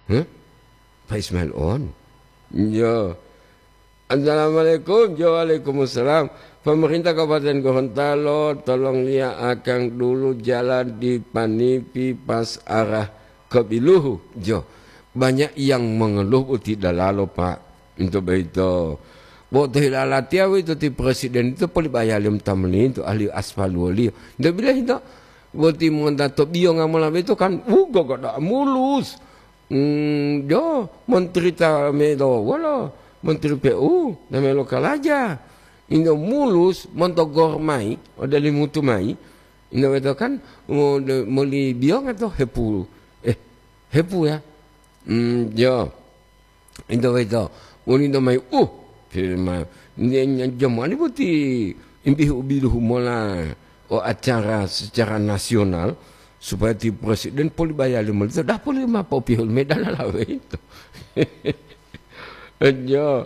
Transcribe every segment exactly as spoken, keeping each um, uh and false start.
Hah? Pak Ismail on. Yo. Assalamualaikum. Yo, waalaikumsalam. Pemerintah Kabupaten Gorontalo, tolong liya akang dulu jalan di Panipi pas arah ke Biluhu. Yo. Banyak yang mengeluh boti dalalo, Pak. Untuk begitu. Bo to hilalatiya wito ti presiden itu poli bayaliyo ta melinto ahli aspal woliyo. Ndak bila hito. Boti monta to biyonga mola beto kan, wugo goda mulus. Hmm, jo, menteri ta melo wolo, menteri P U ta melo kalaja. Indo mulus monto gor mai, ode limutu mai. Indo weto kan, mo-, de-, moli biyonga to hepu. Eh, hepu ya. Hmm, jo. Indo weto, woni indo mai, uh, firma. Nye-, nye-, jamani boti imbihu-biluhu mola o acara secara nasional, supaya ti presiden poli bayali molito, dah poli ma popihul medal lawe itu. Jo,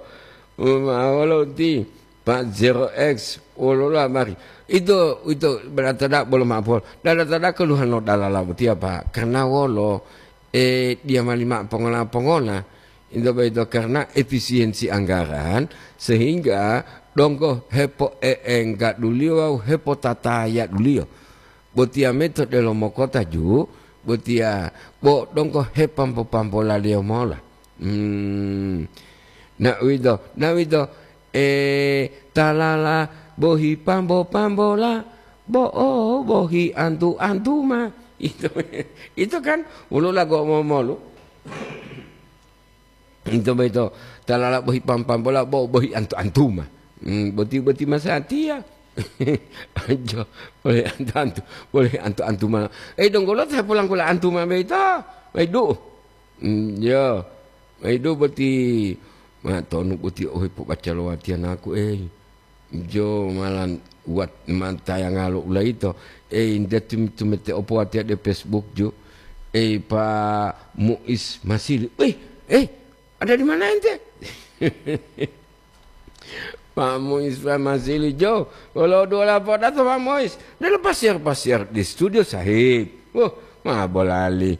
ma wolo ti, Pak Zero X, wolola mari. Itu, itu berarti dah belum apa. Dah, dah, dah keluhan lo dalala boti apa? Karena wolo, eh, dia mali mak pongola-pongola. Into boyito karena efisiensi anggaran, sehingga donggo hepoeenggaduliyo wawu hepotatayaduliyo. Botiya meto delomo kota ju, botiya bo donggo hepambo-pambolaliyo mola. Hmm. Na uwito, na uwito, eh, talala bohi pambo-pambola, bo'o bohi antu-antuma. Itu, itu kan woluwo lago momolu. Ito boyito talala bohi pam-pambola bo bohi antu-antuma. Hmm, boti-boti masatiya. Ajo, bohi antu-antu, bohi antu-antuma. Eh, donggo lo ta polangkula antuma boyito. Waidu. Hmm, yo. Waidu boti. Ma tonu boti ohe pobaca lo watiya naku, eh. Jo malan wat mantayanga lo ulaito. Eh, inda tum-, tumete opo watiya de Facebook ju. Eh, Pak Muiz Masili. Eh, eh, ada di mana ente? Pak Muiz, Pak Masili jo. Wolo dua lapor datang Pak Muiz. Dalam pasir-pasir di studio sahib. Wah, ma bolali.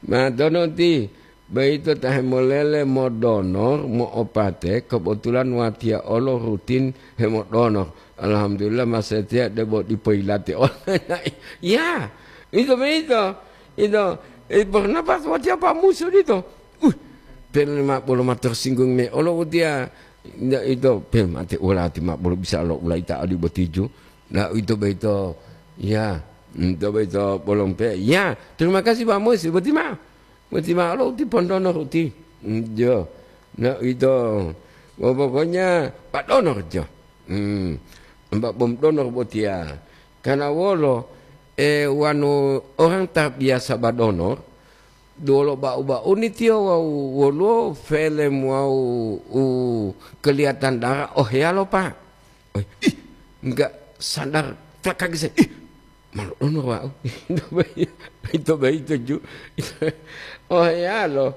Ma dono ti. Boyito ta hemolele modonor, mo'opate, kebetulan watiya olo rutin hemodonor. Alhamdulillah, masatiya debo dipo yilate online. Ya, ito boyito. Ito, eh, pernah pas watiya pamusu dito. Uh, pel ma bolo ma tersinggung me olo watiya. Nda ito, pel mate ulati ma bolo bisa lo ulaita adi botiju. Nah, ito boyito. Ya, ito boyito bolong pe. Ya, terima kasih Pak Mus, boti ma. Boti ma'o lo uti pondonor uti. Mm, jo. Na ito. Wo pokoknya Pak Donor jo. Hmm. Mbak Bom Donor botiya. Karena wolo, eh, wanu orang terbiasa badonor, dolo ba'u-ba'uni tiyo wawu woluwo felem wawu u kelihatan darah, oh, heyalo, Pak. Oh, ih, enggak sadar, tak kaget saya. Ih, malu ono wau. Itu bayi, itu bayi tuju. Oh, ya loh.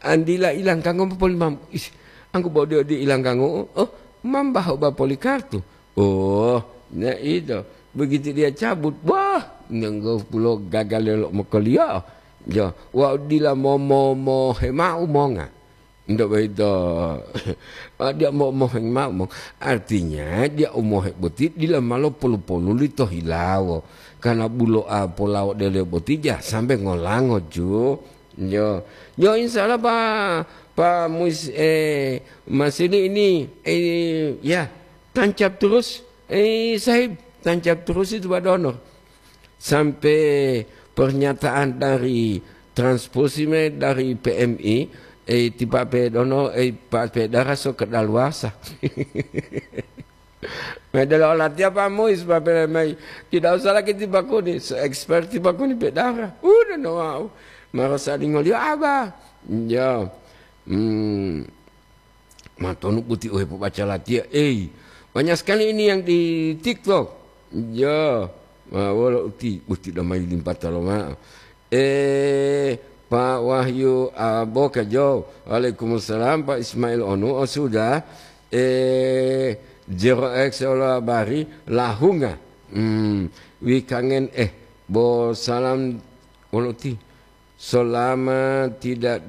Andila ilang kanggo mapoli mam. Ih, angku bodi-odi ilang kanggo. Oh, mambah oba poli kartu. Oh, nah itu. Begitu dia cabut, wah, nenggo pulo gagal lelo mokoliyo. Jo, wau dila mo, mo, mo hemau monga. Ndak boyito. Dia mo-, moheng mao, mo-, artinya dia u mohe boti dila malo polu-polu lito hilawo. Karena bulo'a polawo dele boti ja sampai ngolango ju. Yo. Yo, insya Allah, Pak, Pak Mus-, eh, Masili ini, eh, ya, tancap terus. Eh, Sahib, tancap terus itu, Pak Donor. Sampai pernyataan dari Transposime dari P M I, eh, ti Pak Pedono, eh, Pak Pedara so kedaluarsa. Medelo latiya Pak Muis, Pak Pelemai. Tidak usah lagi ti Pak Kuni, se-expert ti Pak Kuni Pedara. Udah no wau. Marasa dingolio aba. Ya. Hmm. Matonu boti ohe pobaca latiya, ei. Banyak sekali ini yang di TikTok. Ya, ma wolo uti, uti damai limpata lomao. Eh, Pak Wahyu Aboka Jo. Waalaikumsalam, Pak Ismail Onu. Oh, sudah. Eh, Zero X Ola Bari, Lahunga. Hmm, wikangen, eh, bo salam wolo uti. Selama tidak